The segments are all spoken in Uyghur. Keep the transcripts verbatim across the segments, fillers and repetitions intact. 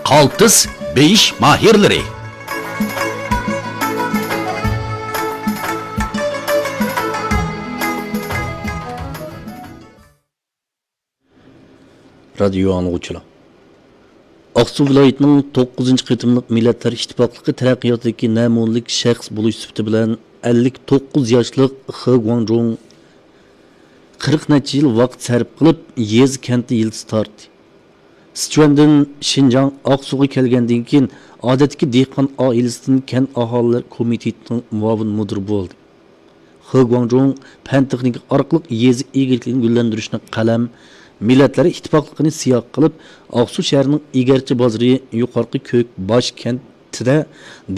قالتىس بېيىش ماھىرلىرى. رادىيو ئاڭلىغۇچىلار! ئاقسۇ ۋىلايىتىنىڭ توققۇزىنچى قېتىملىق مىللەتلەر ئىتتىپاقلىقى تەرەققىياتىدىكى نەمۇنىلىك شەخس بولۇش سۈپىتى بىلەن ئەللىك توققۇز ياشلىق خې گۇاڭجۇڭ قىرىق نەچچە يىل ۋاقىت سەرپ قىلىپ، يېزا كەنتتە يىلتىز تارتتى. سىچۈەندىن شىنجاڭ ئاقسۇغا كەلگەندىن كېيىن، ئادەتتىكى دېھقان ئائىلىسىدىن كەنت ئاھالىلەر كومىتېتىنىڭ مۇئاۋىن مۇدىرى بولدى. خې گۇاڭجۇڭ پەن تېخنىكا ئارقىلىق يېزا ئىگىلىكىنى گۈللەندۈرۈشنى قەلەم، مىللەتلەر ئىتتىپاقلىقىنى سىياق قىلىپ، ئاقسۇ شەھىرىنىڭ ئىگەرچى بازىرى يۇقارقى كۆك باش كەنتىدە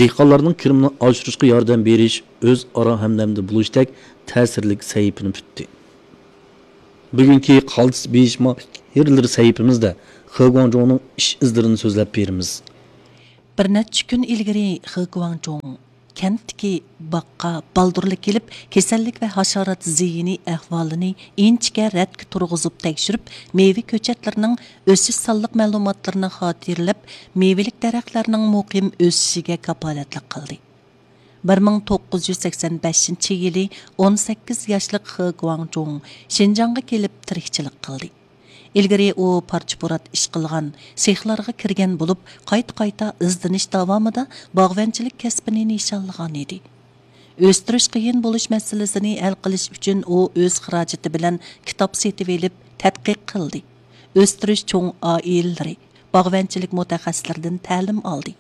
دېھقانلارنىڭ كىرىمىنى ئاشۇرۇشقا ياردەم بېرىش، ئۆزئارا ھەمدەمدە بولۇشتەك تەسىرلىك سەھىپىنى پۈتتى. بۈگۈنكى قالتىس بېيىش ماھىرلىرى سەھىپىمىزدە خې گۇاڭجۇڭنىڭ ئىش ئىزلىرىنى سۆزلەپ بېرىمىز. بىر نەچچە كۈن ئىلگىرى خې گۇاڭجۇڭ كەنتتىكى باغقا بالدۇرلا كېلىپ، كېسەللىك ۋە ھاشارات زىيىنى ئەھۋالىنى ئىنچىكە رەتكە تۇرغۇزۇپ تەكشۈرۈپ، مېۋە كۆچەتلىرىنىڭ ئۆسۈش سانلىق مەلۇماتلىرىنى خاتىرىلەپ، مېۋىلىك دەرەخلەرنىڭ مۇقىم ئۆسۈشىگە كاپالەتلىك قىلدى. بىر مىڭ توققۇز يۈز سەكسەن بەشىنچى يىلى ئون سەككىز ياشلىق خې گۇاڭجۇڭ شىنجاڭغا كېلىپ تىرىكچىلىك قىلدى. ئىلگىرى ئۇ پارچە-پۇرات ئىش قىلغان، سېخلارغا كىرگەن بولۇپ، قايتا-قايتا ئىزدىنىش داۋامىدا باغۋەنچىلىك كەسپىنى نىشانلىغان ئىدى. ئۆستۈرۈش قىيىن بولۇش مەسىلىسىنى ھەل قىلىش ئۈچۈن ئۇ ئۆز خىراجىتى بىلەن كىتاب سېتىۋېلىپ تەتقىق قىلدى. ئۆستۈرۈش چوڭ ئائىلىلىرى، باغۋەنچىلىك مۇتەخەسسىسلىرىدىن تەلىم ئالدى.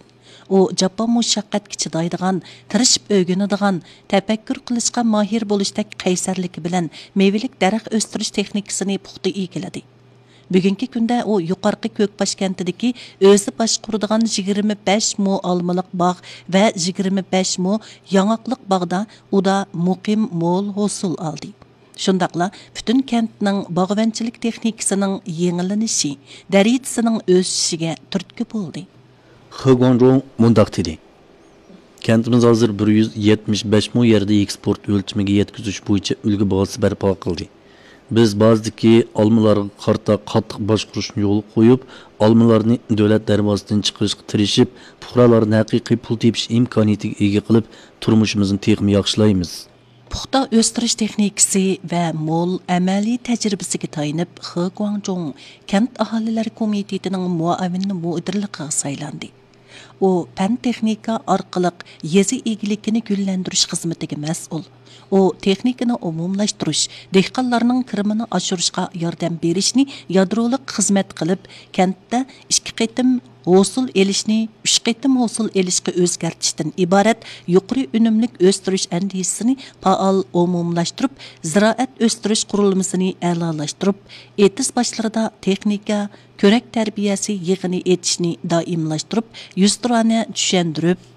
ئۇ جاپا مۇشەققەتكە چىدايدىغان، تىرىشىپ ئۆگىنىدىغان، تەپەككۇر قىلىشقا ماھىر بولۇشتەك قەيسەرلىكى بىلەن مېۋىلىك دەرەخ ئۆستۈرۈش تېخنىكىسىنى پۇختا ئىگىلىدى. بۈگۈنكى كۈندە ئۇ يۇقارقى كۆكباش كەنتىدىكى ئۆزى باشقۇرىدىغان يىگىرمە بەش مو ئالمىلىق باغ ۋە يىگىرمە بەش مو ياڭاقلىق باغدا ئۇدا مۇقىم مول ھوسۇل ئالدى. شۇنداقلا پۈتۈن كەنتنىڭ باغۋەنچىلىك تېخنىكىسىنىڭ يېڭىلىنىشى، دەرىجىسىنىڭ ئۆسۈشىگە تۈرتكە بولدى. خې گۇاڭجۇڭ مۇنداق دېدى: كەنتىمىز ھازىر بىر يۈز يەتمىش بەش مو يەردە ئېكسپورت ئۆلچىمىگە يەتكۈزۈش بويىچە ئۈلگە بازىسى بەرپا قىلدى. بىز بازىدىكى ئالمىلارغا قارىتا قاتتىق باشقۇرۇشنى يولغا قويۇپ، ئالمىلارنى دۆلەت دەرۋازىسىدىن چىقىرىشقا تىرىشىپ، پۇقرالارنى ھەقىقىي پۇل تېپىش ئىمكانىيىتىگە ئىگە قىلىپ، تۇرمۇشىمىزنى تېخىمۇ ياخشىلايمىز. پۇختا ئۆستۈرۈش تېخنىكىسى ۋە مول ئەمەلىي تەجرىبىسىگە تايىنىپ، خې گۇاڭجۇڭ كەنت ئاھالىلەر كومىتېتىنىڭ مۇئاۋىن مۇدىرلىقىغا سايلاندى. ئۇ پەن-تېخنىكا ئارقىلىق يېزا ئىگىلىكىنى گۈللەندۈرۈش خىزمىتىگە مەسئۇل. ئۇ تېخنىكىنى ئومۇملاشتۇرۇش، دېھقانلارنىڭ كىرىمىنى ئاشۇرۇشقا ياردەم بېرىشنى يادرولۇق خىزمەت قىلىپ، كەنتتە ئىككى قېتىم ھوسۇل ئېلىشنى ئۈچ قېتىم ھوسۇل ئېلىشقا ئۆزگەرتىشتىن ئىبارەت يۇقىرى ئۈنۈملۈك ئۆستۈرۈش ئەندىزىسىنى پائال ئومۇملاشتۇرۇپ، زىرائەت ئۆستۈرۈش قۇرۇلمىسىنى ئەلالاشتۇرۇپ، ئېتىز باشلىرىدا تېخنىكا، كۆرەك تەربىيەسى يىغىنى ئېچىشنى دائىملاشتۇرۇپ، يۈزتۇرانە چۈشەندۈرۈپ،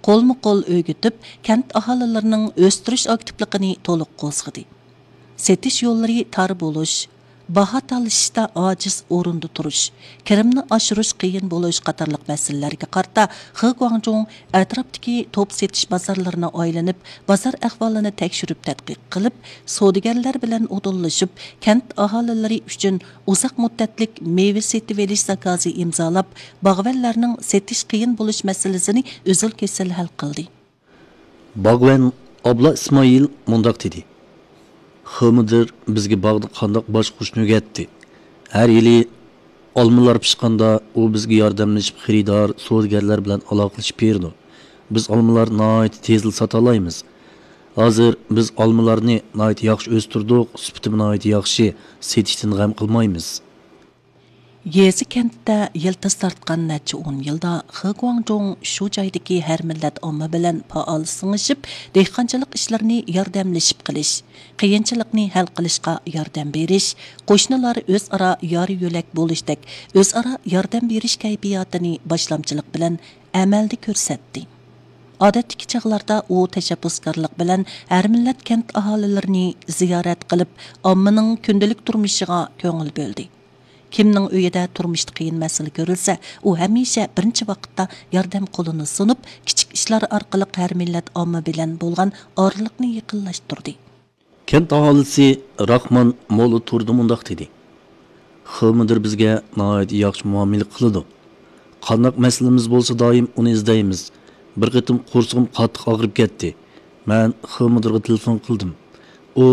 قولمۇ قول ئۆگىتىپ، كەنت ئاھالىلىرىنىڭ ئۆستۈرۈش ئاكتىپلىقىنى تولۇق قوزغىدى. سېتىش يوللىرى تار بولۇش، باھا تالىشىشتا ئاجىز ئورۇندا تۇرۇش، كىرىمنى ئاشۇرۇش قىيىن بولۇش قاتارلىق مەسىلىلەرگە قارىتا خې گۇاڭجۇڭ ئەتراپتىكى توپ سېتىش بازارلىرىنى ئايلىنىپ، بازار ئەھۋالىنى تەكشۈرۈپ تەتقىق قىلىپ، سودىگەرلەر بىلەن ئۇدۇللىشىپ، كەنت ئاھالىلىرى ئۈچۈن ئۇزاق مۇددەتلىك مېۋە سېتىۋېلىش زاكازى ئىمزالاپ، باغۋەنلەرنىڭ سېتىش قىيىن بولۇش مەسىلىسىنى ئۈزۈل-كېسىل ھەل قىلدى. باغۋەن ئابلا ئىسمائىل مۇنداق دېدى: خې مۇدىر بىزگە باغدا قانداق باشقۇرۇشنى ئۆگەتتى. ھەر يىلى ئالمىلار پىشقاندا، ئۇ بىزگە ياردەملىشىپ، خېرىدار، سودىگەرلەر بىلەن ئالاقىلىشىپ بېرىدۇ. بىز ئالمىلارنى ناھايىتى تېزلا ساتالايمىز. ھازىر بىز ئالمىلارنى ناھايىتى ياخشى ئۆستۈردۇق، سۈپىتىمۇ ناھايىتى ياخشى، سېتىشتىن غەم قىلمايمىز. يېزا كەنتتە يىلتىز تارتقان نەچچە ئون يىلدا خې گۇاڭجۇڭ شۇ جايدىكى ھەر مىللەت ئامما بىلەن پائال سىڭىشىپ، دېھقانچىلىق ئىشلىرىنى ياردەملىشىپ قىلىش، قىيىنچىلىقنى ھەل قىلىشقا ياردەم بېرىش، قوشنىلار ئۆزئارا يار-يۆلەك بولۇشتەك ئۆزئارا ياردەم بېرىش كەيپىياتىنى باشلامچىلىق بىلەن ئەمەلدە كۆرسەتتى. ئادەتتىكى چاغلاردا ئۇ تەشەببۇسكارلىق بىلەن ھەر مىللەت كەنت ئاھالىلىرىنى زىيارەت قىلىپ، ئاممىنىڭ كۈندىلىك تۇرمۇشىغا كۆڭۈل بۆلدى. كىمنىڭ ئۆيىدە تۇرمۇشتا قىيىن مەسىلە كۆرۈلسە، ئۇ ھەمىشە بىرىنچى ۋاقىتتا ياردەم قولىنى سۇنۇپ، كىچىك ئىشلار ئارقىلىق ھەر مىللەت ئامما بىلەن بولغان ئارىلىقنى يېقىنلاشتۇردى. كەنت ئاھالىسى راخمان مولا تۇردى مۇنداق دېدى: خې مۇدىر بىزگە ناھايىتى ياخشى مۇئامىلە قىلىدۇ. قانداق مەسىلىمىز بولسا دائىم ئۇنى ئىزدەيمىز. بىر قېتىم قورسىقىم قاتتىق ئاغرىپ كەتتى. مەن خې مۇدىرغا تېلېفون قىلدىم. ئۇ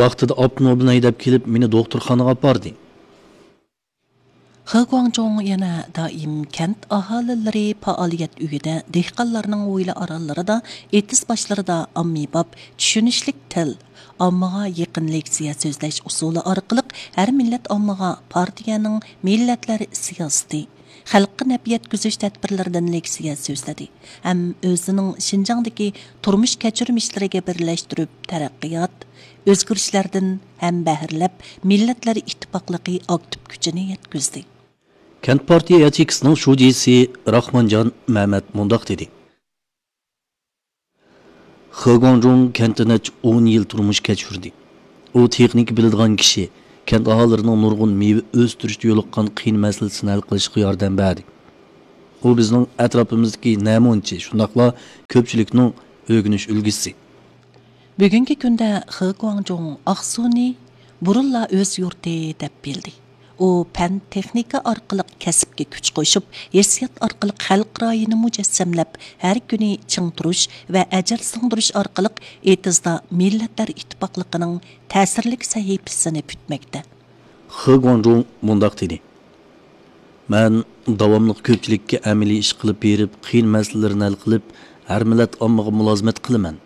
ۋاقتىدا ئاپتوموبىلنى ھەيدەپ كېلىپ، مېنى دوختۇرخانىغا ئاپاردى. خې گۇاڭجۇڭ يەنە دائىم كەنت ئاھالىلىرى پائالىيەت ئۆيىدە، دېھقانلارنىڭ ھويلا ئارانلىرىدا، ئېتىز باشلىرىدا ئاممىباب، چۈشىنىشلىك تىل، ئاممىغا يېقىن لېكسىيە سۆزلەش ئۇسۇلى ئارقىلىق ھەر مىللەت ئاممىغا پارتىيەنىڭ مىللەتلەر سىياسىتى، خەلققە نەپ يەتكۈزۈش تەدبىرلىرىدىن لېكسىيە سۆزلىدى ھەم ئۆزىنىڭ شىنجاڭدىكى تۇرمۇش كەچۈرمىشلىرىگە بىرلەشتۈرۈپ تەرەققىيات، ئۆزگىرىشلەردىن ھەمبەھىرلەپ، مىللەتلەر ئىتتىپاقلىقى ئاكتىپ كۈچىنى يەتكۈزدى. كەنت پارتىيە ياچېيكىسىنىڭ شۇجىسى راخمانجان مەمەت مۇنداق دېدى. خې گۇاڭجۇڭ كەنتتە نەچچە ئون يىل تۇرمۇش كەچۈردى. ئۇ تېخنىكا بىلىدىغان كىشى، كەنت ئاھالىلىرىنىڭ نۇرغۇن مېۋە ئۆستۈرۈشتە يولۇققان قىيىن مەسىلىسىنى ھەل قىلىشقا ياردەم بەردى. ئۇ بىزنىڭ ئەتراپىمىزدىكى نەمۇنىچى، شۇنداقلا كۆپچىلىكنىڭ ئۆگىنىش ئۈلگىسى. بۈگۈنكى كۈندە خې گۇاڭجۇڭ ئاقسۇنى بۇرۇنلا ئۆز يۇرتى دەپ بىلدى. ئۇ پەن، تېخنىكا ئارقىلىق كەسىپكە كۈچ قوشۇپ، ھېسسىيات ئارقىلىق خەلق رايىنى مۇجەسسەملەپ، ھەر كۈنى چىڭ تۇرۇش ۋە ئەجىر سىڭدۈرۈش ئارقىلىق ئېتىزدا مىللەتلەر ئىتتىپاقلىقىنىڭ تەسىرلىك سەھىپىسىنى پۈتمەكتە. خې گۇاڭجۇڭ مۇنداق دېدى: مەن داۋاملىق كۆپچىلىككە ئەمەلىي ئىش قىلىپ بېرىپ، قىيىن مەسىلىلەرنى ھەل قىلىپ، ھەر مىللەت ئاممىغا مۇلازىمەت قىلىمەن.